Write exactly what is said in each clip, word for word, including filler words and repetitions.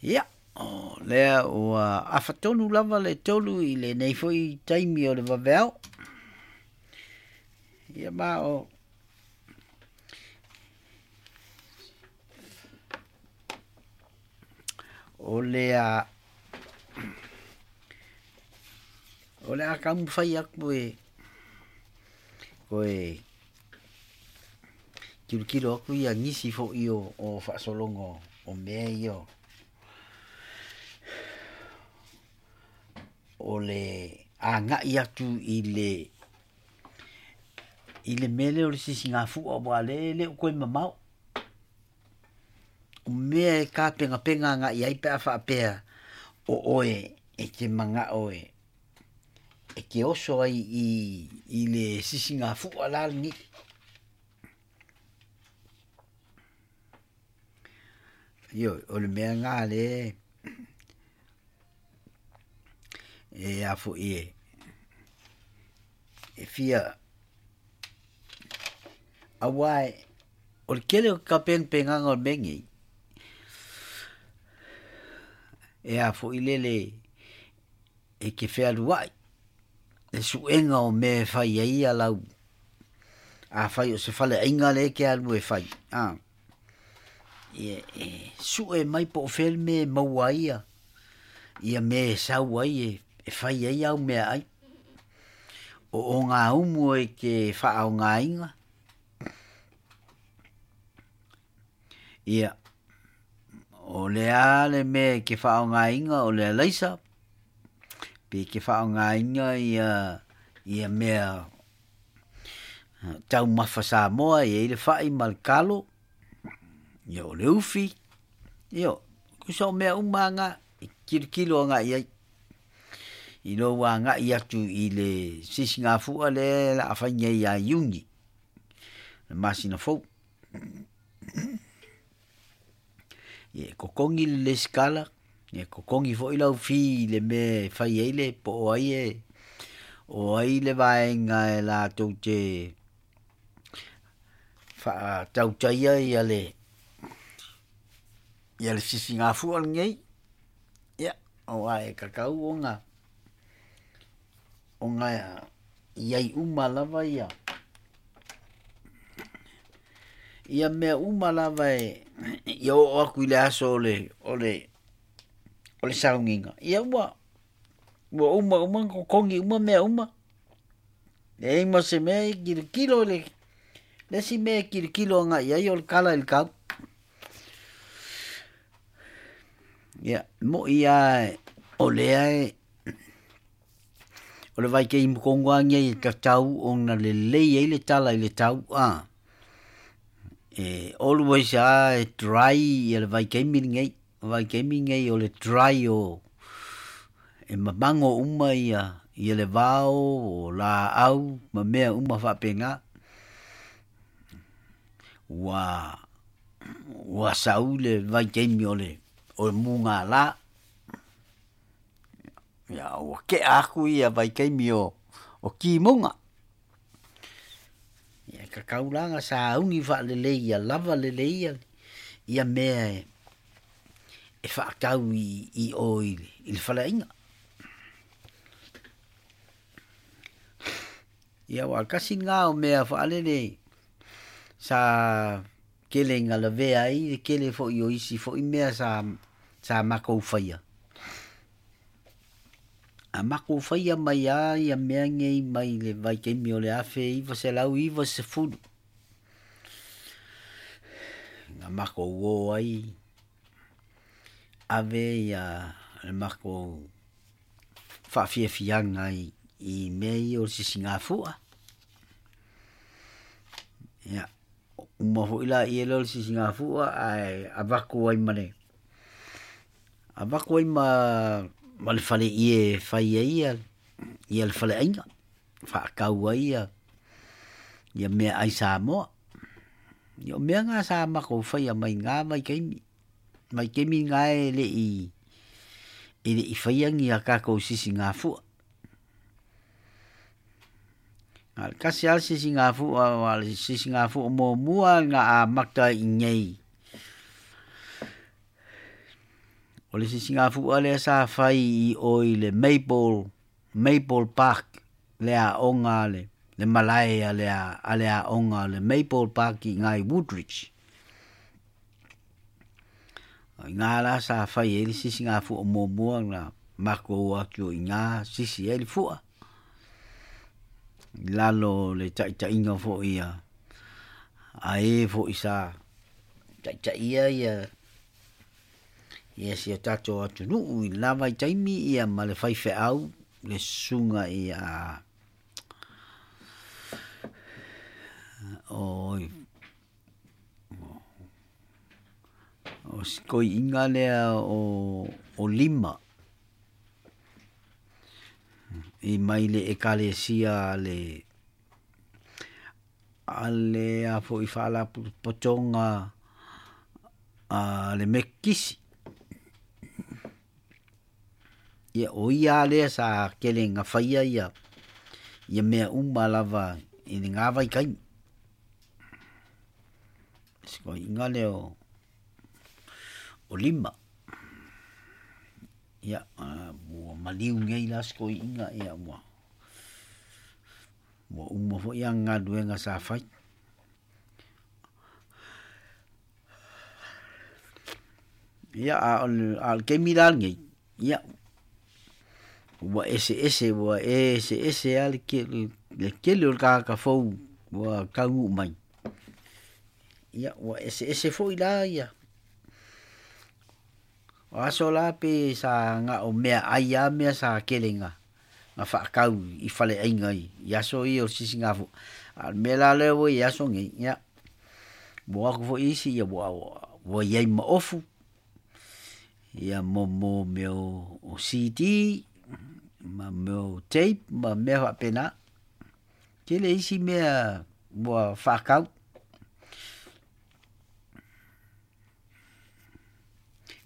Ia, o lea ua afatonu lava le tolu i lenei foi taimi o le vaveao. Ia ma o o le a o le a taumafai atu e toe tilotilo atu ia nisi foi o, o faasologa o mea ia o le agai atu i le i le mea lea o le sisigafua aua o lea e le o toe mamao. O mea e tapenapena agai ai pe a faapea o oe e te manao e e te oso ai i i le sisigafua la lenei. Ioe, o le mea lena lea e a foi e e fia aua o le tele o tapenapenaga o le mea nei e a foi lele e te fealuai le suega o mea e fai ai ia lau afai o se faleaiga lea e te alu e fai a ia e sue mai po o fea le mea e maua ai ia ia mea e sau ai e e fai ai au meaai. O ogaumu e te faaaogaina ia o le a le mea e te faaaogaina o le alaisa pe e te faaaogaina ia ia mea taumafa Samoa e i ai le fai ma le talo, ia o le ufi, ia tusa o mea uma lava na e tilotilo agai i ai i lou agai atu i le sisigafua lea o le a fai nei ia Iuni, le masina fou. Ia e totogi le resitala, e totogi foi lau fee i le mea e fai ai le po o ai e o ai le vaega e latou te faatautaia ia le ia le sisigafua lenei, ia aua e tatau ona ona i ai uma lava ia ia mea uma lava e ia oo atu i le aso o le o le o le sauniga, ia ua ua uma uma ona totogi uma mea uma. Leai ma se mea e tilotilo le le isi mea e tilotilo agai i ai o le tala i le tau. Ia, e moi lava o lea e o le vaitaimi tonu lava lenei e tatau ona lelei ai le tala i le tau a. E always lava e dry ia le vaitaimi lenei, o le vaitaimi lenei o le dry o e mamago uma ia ia le vao, o laau ma mea uma faapena. Ua ua sau le vaitaimi o le o le mugala, ia ua tea atu ia vaitaimi o o timuga. Ia e tatau la ona sauni faalelei ia lava lelei ia ia mea e faatau i i o i le faleaiga. Ia aua o le tasi lena o mea faalele sa tele ina lavea ai le tele foi o isi foi mea sa sa matou faia. A matou faia mai lava ia mea nei mai le vaitaimi o le afe iva selau iva sefulu na matou o ai ave ia le matou faafiafiaga i i mea ia o le sisigafua. Ia, uma foi laia lea o le sisigafua ae avatu ai ma le avatu ai ma ma le faleie e fai ai ia ia le faleaiga, faatau ai ia ia meaai Samoa. Ia o mea na sa matou faia mai na vaitaimi, vaitaimi na e le i e le i faia ni a tatou sisigafua. Na o le tasi lava le sisigafua aua o le sisigafua muamua na amata i inei o O le sisigafu'a lea sa fai i o i le Maple Maple Park le aoga a le le malae a le a le aoga o le Maple Park i iga i Woodridge. O iga la sa fai ai le sisigafu'a muamua na makou o atu o iga sisi ai le fu'a, i lalo o le ta'ita'iga fo'i a a ē fo'i sa ta'ita'ia ia ia si o tatou atunu'u i lena vaitaimi ia ma le faife'au le susuga ia o si toeaina lea o o Lima i mai le Ekalesia a le a le a foi Faalapotopotoga a le Mekisi. Ia o ia lea sa tele ina faia ia ia mea uma lava i lena vaitaimi. Si toeaina lea o o Lima. Ia ua maliu nei la si toeaina ia ua ua uma foi ana galuega sa fai. Ia a o le a o le taimi la lenei, ia ua eseese ua eseese lava le tele le tele o le tagata fou ua taunuu mai, ia ua eseese foi la ia. O aso la pe sa na o meaai lava mea sa tele ina na faatau i faleaiga i aso ia o le sisigafu'a, a o le mea la lea ua i ai aso nei, ia ua o atu foi isi ia ua ua i ai ma ofu, ia mo mo mea o C D ma mea o tape ma mea faapena. Tele isi mea ua faatau.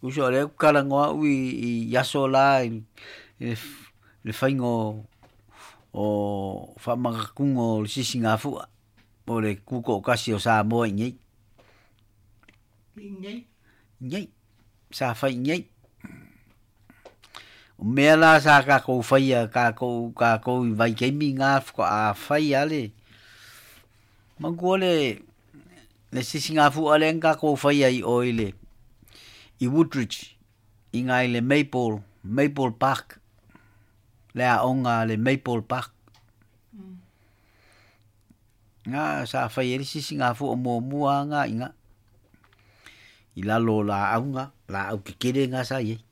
Uso o lea ou te talanoa au i i aso la i le faiga o o faamanatuga o le sisigafu'a po o le tuto'atasi o Samoa i inei. I Inei, sa fai i inei. O mea la sa tatou faia tatou tatou i vaitaimi na faatoa fai lava le manatua le le sisigafu'a lea na tatou faia i o i le i Woodridge i ina i le Maple Maple Park, le aoga a le Maple Park. Na sa fai ai le sisigafu'a muamua lava na i ina i lalo o laau na, laau tetele na sa i ai.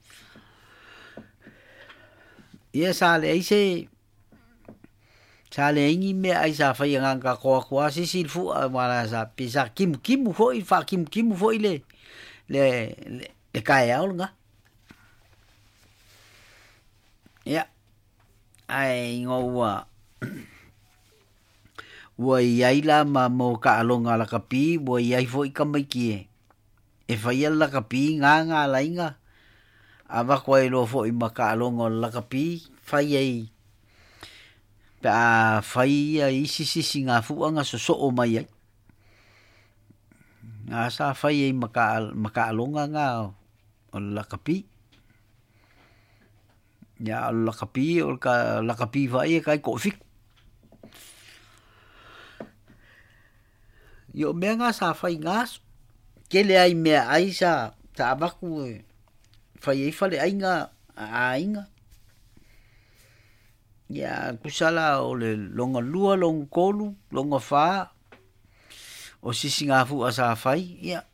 Ia sa leai se sa leai ni meaai sa faia na ona tatou o atu lava sisi le fu'a aua la sa pei sa timutimu foi faatimutimu foi le le le taeao lena. Ia, ae ina ua ua i ai la ma mo taaloga lakapi, ua i ai foi tamaiti e faia le lakapi na na ala ai ona avatu ai loa foi ma taaloga o le lakapi, fai ai pe a fai isi sisigafu'a na sosoo mai ai. Na sa fai ai ma ma taaloga na o le lakapi. Ia a o le lakapi o le lakapi foi ia e taitoafitu. Ia o mea na sa fai i na aso, tele lava i meaai sa sa avatu e fai ai faleaiga a aiga. Ia tusa la o le lona lua, lona tolu, lona fa o sisigafu'a sa fai, ia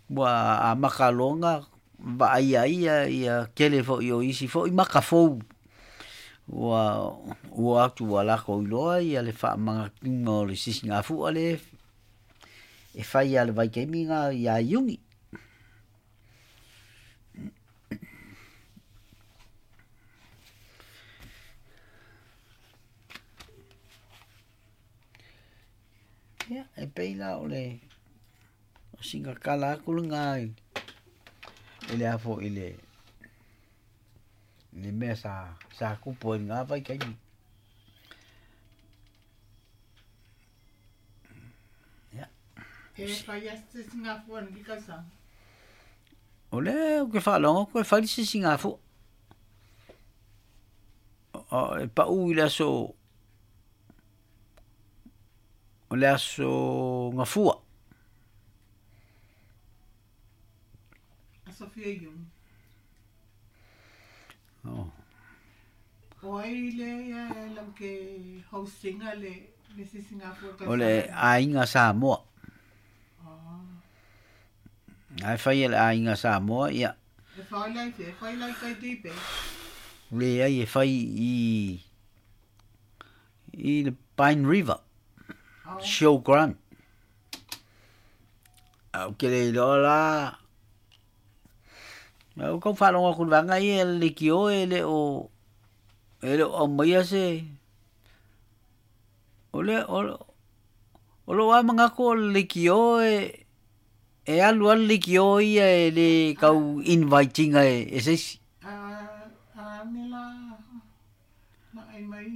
ua amata loa ona vaaia ai ia tele foi o isi foi maka fou ua ua o atu ua latou iloa le faamanatuina o le sisigafu'a lea e fai lava i le vaitaimi lena ia Iuni. Ia, e pei la o le o sina tala atu lena i le a foi i le le mea sa sa tupu ai i lena vaitaimi. Ia. E fai lava se sisigafua i lenei tausaga. O le o ke whaalonga koe whai se singa fua. O e pau i le aso o le aso ngafua. Aso fia iun. Oh. O ai le lam ke hostinga le le sisinga fua. O le ainga Samoa. Ah. Ai whai le ainga Samoa, ia. E whai lai te, whai lai kai dipe. Le ai e whai i i le Pine River. Oh. Show Grant. Au ke le lola. Au kau whalonga kulwanga i e le kio e le o e le o maia se. O le o o lo a mangako le kio e e alu alu le kio ia e le kau invitinga e e se. A a nela na ai mai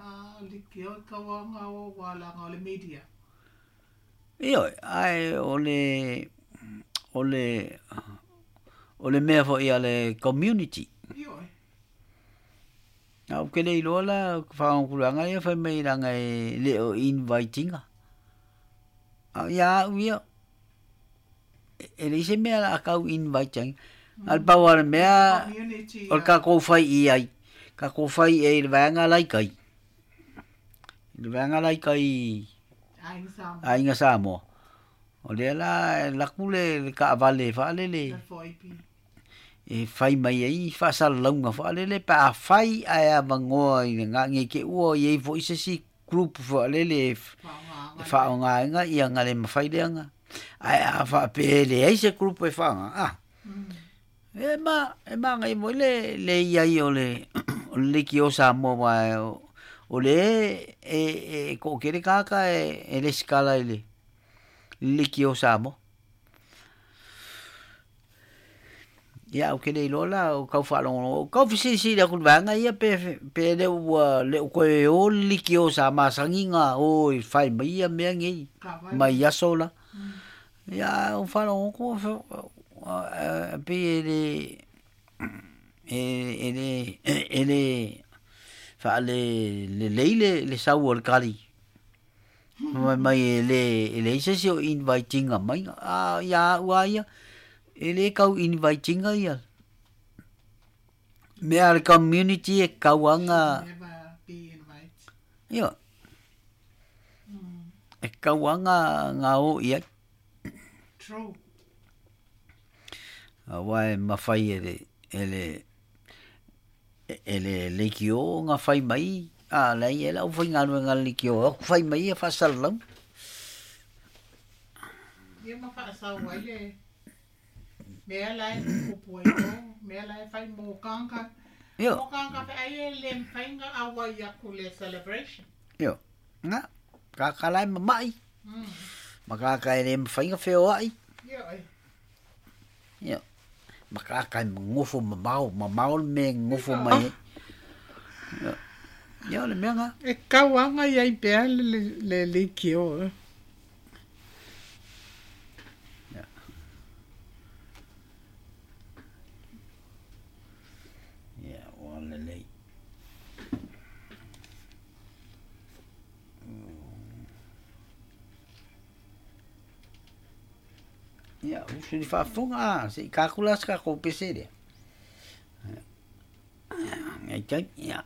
a le kio kau o wala ngā le media. Io ai o le o le o le mea fo ia le community. Io. Au ke le iloa la whaangkulanga ia whai mai ranga e le o invitinga. Au ia au ia e le ise mea la kau invitinga. Al pau ale mea Community. o le ka kōwhai i ai. Ka kōwhai e le vaenga lai kai. Le vaenga lai kai Ainga Samoa. Ainga Samoa. O lea la laku le le kaavale whaalele. Le foipi. E whai mai ai whaasalaunga whaalele pa a whai ai a mangoa i ngā nge ke ua i ei fo i se si group whaalele e whaongaenga ia ngā le mawhai leanga. Ai a whaapele ai se group e whaonga. Ah. E ma, e ma ngai mo le le iai o le o le ki o Samoa wa o, o le e e ko kere kaka e e le skala i le le ki o Samoa. Ia o ke le iloa o kau whaalongo. O kau fisisi le kulwanga ia pe pe le ua le o koe o le ki o Samoa sanginga o i whai mai ia mea ngei mai aso la. Ia o whaalongo ko pe e le e e le e le whaale le leile le sau o le kari. Mai mai e le e le ise o invitinga mai a ia ua ia e le kau invitinga ia. Mea le community e kauanga Never be invite. Ia. E kauanga ngā o ia. True. A wai mawhai e le e le e le le kio ngā whai mai a lei e lau whai ngā ngā le kio o whai mai e whasalau. Ia ma whaasau ai le mea lai kupu ai o mea lai whai mō kanga. Io. Mō kanga whai ai e le mwhainga awa i aku le celebration. Io. Ngā kaka lai mamai. Mm. Ma kaka e le mwhainga whio ai. Io ai. Io. Ma kaka e ngofo mamao, mamao me ngofo mai. Io. Io le mea ngā. E kauanga i ai pea le le le, le kio. Ia. Ia, o le lei. Ia, usu ni whaafonga, se i kākula se kako pese rea. Ngai tai, ia.